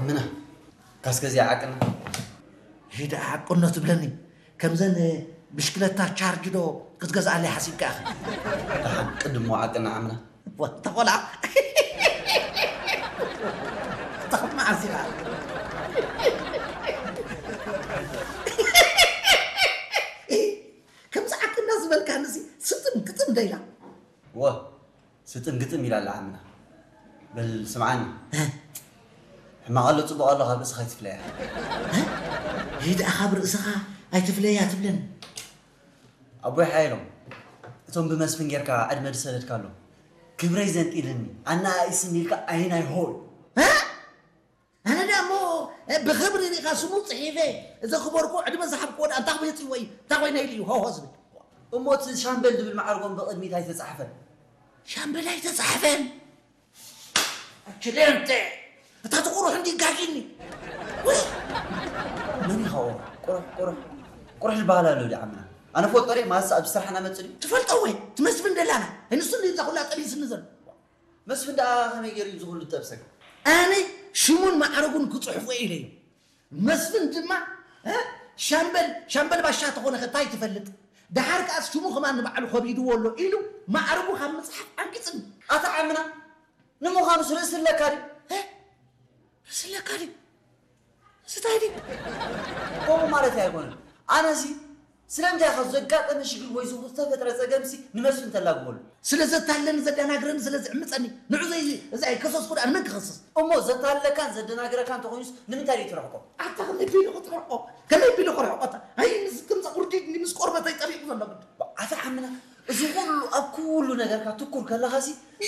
ምና ካስከዚኣ ዓቅና። ሂዳ ዓቅኖ ትብለኒ። ከምዘን ብሽክለታ ቻርጅ ዶ ክትገዝኣለይ ሓሲብካ ኢኻ? ደሓን ቅድሞ ዓቅና ዓምና። ወ-፣ ተኾላ። ተኸማ ዓሲኻ። ከምዚ ዓቅና ዝበልካ ንሲ ስጥም ግጥም ደይላ። ወ-፣ ስጥም ግጥም ኢላ ኣላ ዓምና። በል ስምዓኒ። እ? ሕማቕ ኣሎ ጽቡቕ ኣሎ ካብ ርእስኻ ኣይትፍለያ። እ? ይህ ደኣ ካብ ርእስኻ ኣይትፍለያ ትብለኒ። ኣቦይ ሓየሎም፣ እቶም ብመስፍን ጌርካ ዕድመ ዝሰደድካሎም ክብረይ ዘንጢልኒ፣ ኣነኣኢስኒ ኢልካ ኣይናይ ሆይ። እ? ኣነ ደኣ እሞ ብኽብሪ ሪኢኻ ስሙ ጽሒፈ ዘኽበርኩ ዕድመ ዝሃብክዎ ደኣ እንታይ ክመጽእ ወይ እንታይ ኮይነ ኢሉ እዩ ሆሆ ዝብል? እሞ እቲ ሻምበል ዝብል ማዕርጎም ብቕድሚት ኣይተጻሕፈን። ሻምበል ኣይተጻሕፈን? ኣችሌንቴ፣ እታ ትቑሩሕ እንዲ ጋጊኒ። ውይ! መን ኢኻ ቁሩሕ? ቁሩሕ፣ ቁሩሕ፣ ቁሩሕ ዝበሃል ኣሎ ድዩ ዓምና? ኣነ ፈልጦ ድየ? ማሳ ኣብ ስራሕና መጽእ ድዩ? ትፈልጦ ወይ? ትመስፍን ደላና። ንሱ እንዲ እዛ ኩላ ጠቢስኒ ዘሎ። መስፍን ደኣ ከመይ ገይሩ እዩ ዝኹሉ ዝጠብሰካ? ኣነ ሽሙን ማዕረጉን ክጽሕፎ ኢለ እዩ። መስፍን ድማ፣ እ፣ ሻምበል፣ ሻምበል ባሻ ተኾነ ከ እንታይ ትፈልጥ? ደሓር ከኣስ ሽሙ ከማን ንባዕሉ ከቢድዎ ኣሎ ኢሉ ማዕረጉ ካብ ምጽሓፍ ኣንቂጽኒ። ኣታ ዓምና፣ ንምዃኑስ ርእሲ ኣለካ ድዩ? እ? ርእሲ ኣለካ ድዩ? ርእሲ እንታይ ድዩ? ከምኡ ማለት ኣይኮነን። ኣነሲ ስለምንታይ ኢኻ ዘጋጠመ ሽግር ወይ ዝተፈጥረ ጸገምሲ ንመስፍን ተላግበሉ? ስለ ዘታለኒ ዘደናግረኒ ስለ ዝዕምጸኒ ንዑ ዘይ-፣ እዛ ኣይከሰስኩ ደኣ ንመን ክኸስስ? እሞ ዘታለካን ዘደናግረካን እንተኾይኑስ ንምንታይ ደይ ትርሕቆ? ኣታ ከመይ ቢሉ ክትርሕቆ? ከመይ ቢሉ ክርሕቆ? ኣታ ኣይ ምስ ከምዛ ቁርዲድ ምስ ቆርበተይ ጠቢቑ ዘሎ ግዲ። ኣታ ዓምና፣ እዚ ኩሉ ኣብ ኩሉ ነገርካ ትኩር ከለኻሲ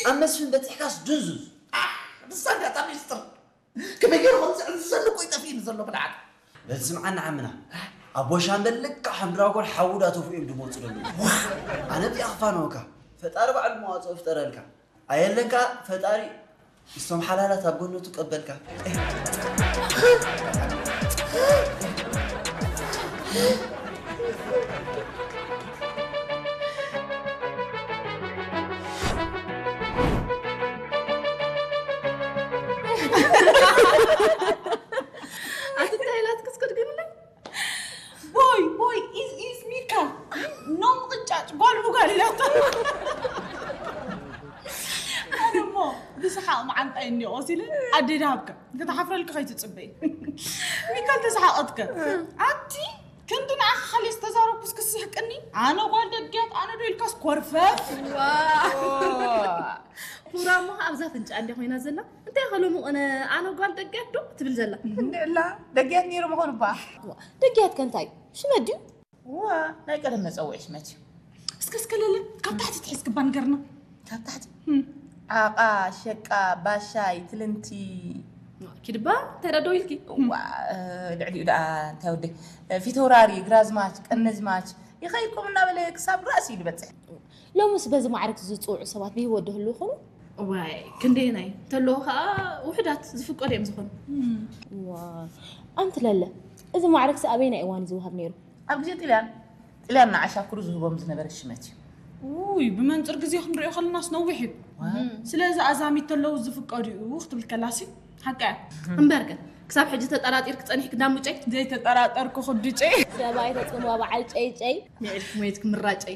ኣብ መስፍን በጺሕካስ ድንዙዝ። ኣሕ፣ ንሳ እንድያ እታ ሚስጥር። ከመይ ገይሩ ከም ዝዕዝዘኒ እኮ እዩ ጠፊእኒ ዘሎ ብልዓት። በል ስምዓኒ ዓምና፣ ኣቦ ሻምበል ልክዕ ከም ድራጎን ሓዊ ዳ ተፍኡ እዮም ድመፁ ደለዉ። ኣነ እዚኣ ክፋነወካ፣ ፈጣሪ ባዕሉ መዋፅኦ ይፍጠረልካ። ኣየለካ ፈጣሪ ምስቶም ሓላላት ኣብ ገነቱ ቀበልካ። ኣቲ እንታይ ኢላትክስ ክትግምለይ? ቦይ፣ ቦይ፣ ኢዝ፣ ኢዝ ሚካ። ኖም ቅጫጭ፣ ጓል ብጓል ኢላቶ። ኣነ እሞ ብሰሓቕ መዓንጣይ እኒኦ ሲለ ኣደይ ድሃብካ። ክትሓፍረልካ ከይትጽበይ። ሚካ እንተሰሓቐትከ? ኣቲ ክንዲ ንዓኻ ካልእ ዝተዛረብኩስ ክስሕቅኒ? ኣነ ጓል ደግያት፣ ኣነ ዶ ኢልካስ ኮርፈፍ? ዋው። ፑራ እሞ ከኣ ኣብዛ ፍንጫ እንድያ ኮይና ዘላ። እንታይ ኢኻ ሎሚ ቐነ ኣነ ጓል ደጊያት ዶ ትብል ዘላ? እንድዕላ፣ ደጊያት ነይሩ ምኾኑ እባ። እዋ፣ ደጊያት ከ እንታይ እዩ? ሽመት ድዩ? እዋ፣ ናይ ቀደም መጸውዒ ሽመት እዩ። እስከ፣ እስከ ለለ፣ ካብ ታሕቲ ትሒዝክባ ንገርና። ካብ ታሕቲ? ህም። ዓቓ፣ ሸቃ፣ ባሻይ፣ ትልንቲ። ኪድባ፣ እንታይ ደኣ ደው ኢልኪ? እዋ፣ እ፣ ልዕሊኡ ደኣ እንታይ ወደይ? እ፣ ፊተውራሪ፣ ግራዝማች፣ ቀነዝማች፣ ይኸይድኩም እናበለ ክሳብ ራእሲ እዩ ዝበጽሕ። ሎምስ በዚ ማዕረግ ዝጽውዑ ሰባት ብህይወት ዶ ህልው ይኾኑ? እዋይ፣ ክንደየናይ እንተለዉ ኸኣ ውሑዳት ዝፍቀዱ እዮም ዝኾኑ። እም። እዋ፣ ኣንቲ ለለ፣ እዚ ማዕረግሲ ኣበየናይ እዋን እዩ ዝወሃብ ነይሩ? ኣብ ግዜ ጥልያን፣ ጥልያን ንዓሻክሩ ዝህቦም ዝነበረ ሽመት እዩ። ውይ፣ ብመንጽር ግዜ ክንሪኦ ከለናስ ነዊሕ እዩ። ዋ። እም። ስለዚ ኣዛሚት እንተለዉ ዝፍቀዱ እዩ ክትብል ከላሲ ሓቂ እያ። እምበርከ፣ ክሳብ ሕጂ ተጠራጢርኪ ጸኒሕኪ ዳሙጨይ? ዘይተጠራጠርኩ ክዱጨይ። ሰብኣይ ተጽምዋ በዓል ጨይጨይ። ምዒድኪ ሞይትኪ ምራጨይ።